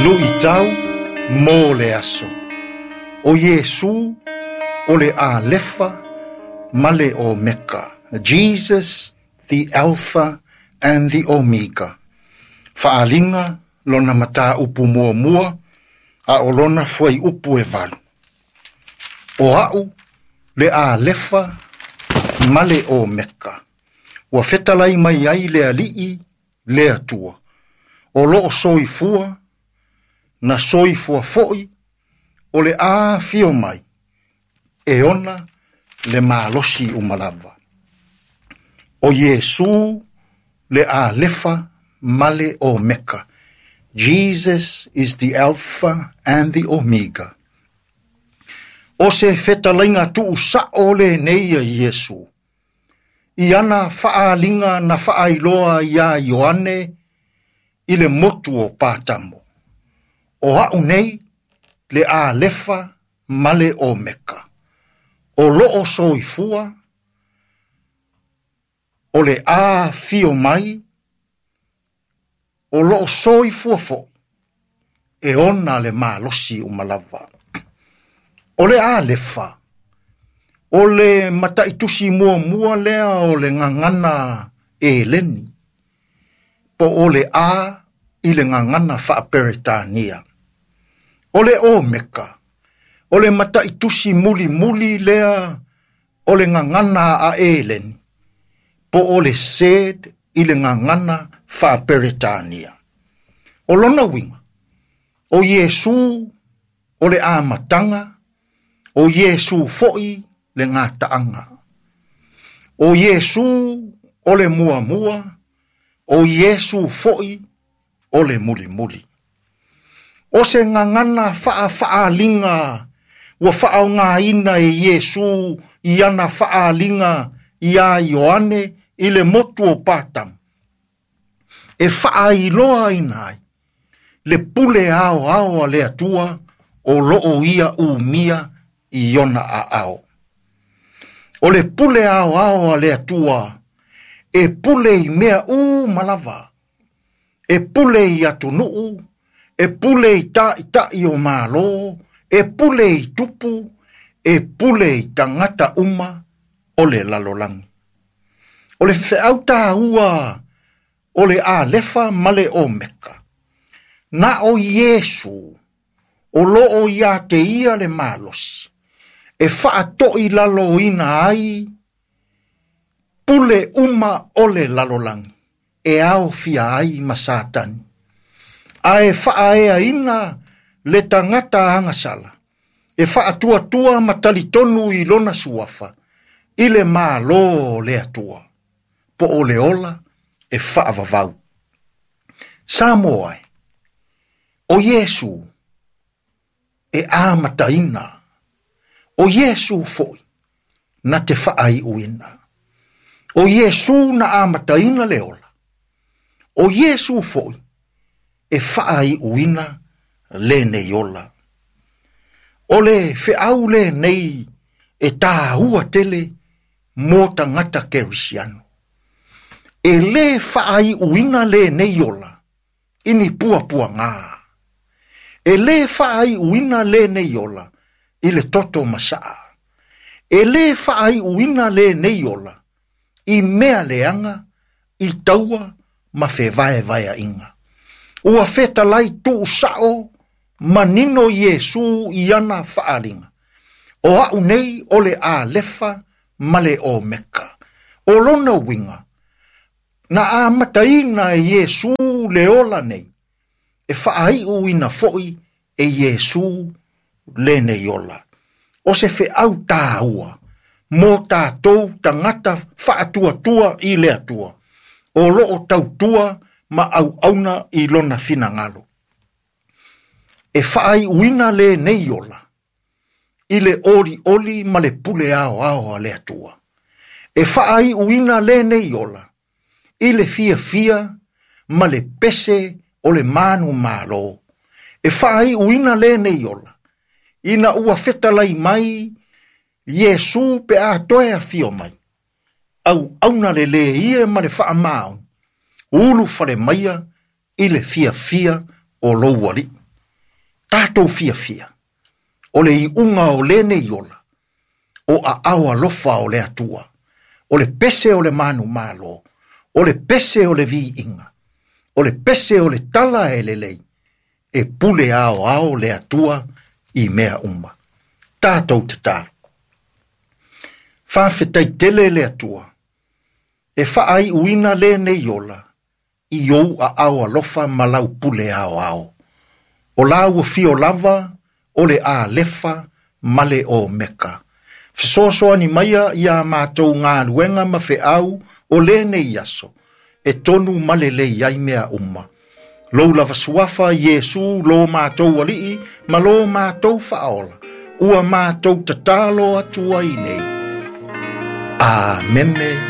Luʻitau mo le aso. ʻO Iesū ʻo le ʻAlefa ma le ʻOmeka, Jesus the Alpha and the Omega. Faaliga lona mataupu muamua a ʻo lona fuaiupu e walu. ʻO aʻu le ʻAlefa ma le ʻOmeka. Ua fetalai mai ai le Aliʻi le Atua. O loʻo soifua, na soifua foʻi, o le afio mai, e ona le malosi uma lava. ʻO Iesū le ʻAlefa ma le ʻOmeka. Jesus is the Alpha and the Omega. ʻO se fetalaiga tuusaʻo lenei a Iesū. I ana faaaliga na faailoa iā Ioane i le motu o Patamo. ʻO aʻu nei le ʻAlefa ma le ʻOmeka. O loʻo soifua, o le afio mai, o loʻo soifua foʻi, e ona le malosi uma lava. ʻO le ʻAlefa, ʻo le mataʻitusi muamua lea o le gagana ʻEleni, po ʻo le ʻA i le gagana faaperetania. ʻO le ʻOmeka, ʻo le mataʻitusi mulimuli lea o le gagana a ʻEleni, po ʻo le Z i le gagana faaperetania. ʻO lona uiga, ʻo Iesū o le ʻamataga, ʻo Iesū foʻi le gataʻaga. ʻO Iesū o le muamua, ʻo Iesū foʻi o le mulimuli. ʻO se gagana faʻafaʻaliga ua faʻaogaina e Iesū i ana faʻaliga iā Ioane i le motu o Patamo, e faailoaina ai le pule aoao a le Atua o loʻo ia ʻumia i ona ʻaʻao. ʻO le pule aoao a le Atua e pule i mea uma lava, e pule i atunuu, e pule i taʻitaʻi o Malo, e pule i tupu, e pule i tagata uma o le lalolagi. ʻO le feʻau tāua o le ʻAlefa ma le ʻOmeka, na ʻo Iesū o loʻo iā te ia le malosi, e faatoʻilaloina ai pule uma o le lalolagi e aofia ai ma Satani, a e faaeaina le tagata agasala, e faatuatua ma talitonu i lona suafa, i le Malo o le Atua, po o le ola e faavavau. Samoa e, ʻo Iesū e amataina, ʻo Iesū foʻi na te faaiʻuina. ʻO Iesū na amataina le ola, ʻo Iesū foʻi e faaiʻuina lenei ola. ʻO le feʻau lenei e tāua tele mo tagata Kerisiano. E lē faaiʻuina lenei ola i ni puapuagā. E lē faaiʻuina lenei ola i le toto masaʻa. E lē faaiʻuina lenei ola i mea leaga i taua ma fevaevaeaʻiga. Ua fetalai tuusaʻo manino Iesū i ana faaliga. ʻO aʻu nei ʻo le ʻAlefa ma le ʻOmeka. ʻO lona uiga, na amataina e Iesū le ola nei, e faaiʻuina foʻi e Iesū lenei ola. ʻO se feʻau tāua mo tātou tagata faatuatua i le Atua, o loʻo tautua ma ʻauʻauna i lona finagalo. E faaiʻuina lenei ola i le ʻoliʻoli ma le pule aoao a le Atua. E faaiʻuina lenei ola i le fiafia ma le pese o le manumalo. E faaiʻuina lenei ola ina ua fetalai mai Iesū pe a toe afio mai. ʻAuʻauna lelē ia ma le faamaoni, ulu fale maia i le fiafia o lou Aliʻi. Tatou fiafia, o le iuga o lenei ola, o aao alofa o le Atua, o le pese o le manumalo, o le pese o le viiga, o le pese o le tala e lelei, e pule aoao le Atua i mea uma. Tatou tatalo. Faafetai tele le Atua, e faaiuina lenei ola, i ou aao alofa ma lau pule aoao. O la ua fio lava, o le Alefa ma le Omeka. Fesoasoani maia ia matou galuega ma feau o lenei aso, e tonu ma lelei ai mea uma. Lou lava suafa Iesu lo matou alii ma lo matou faaola, ua matou tatalo atu ai nei. Amene.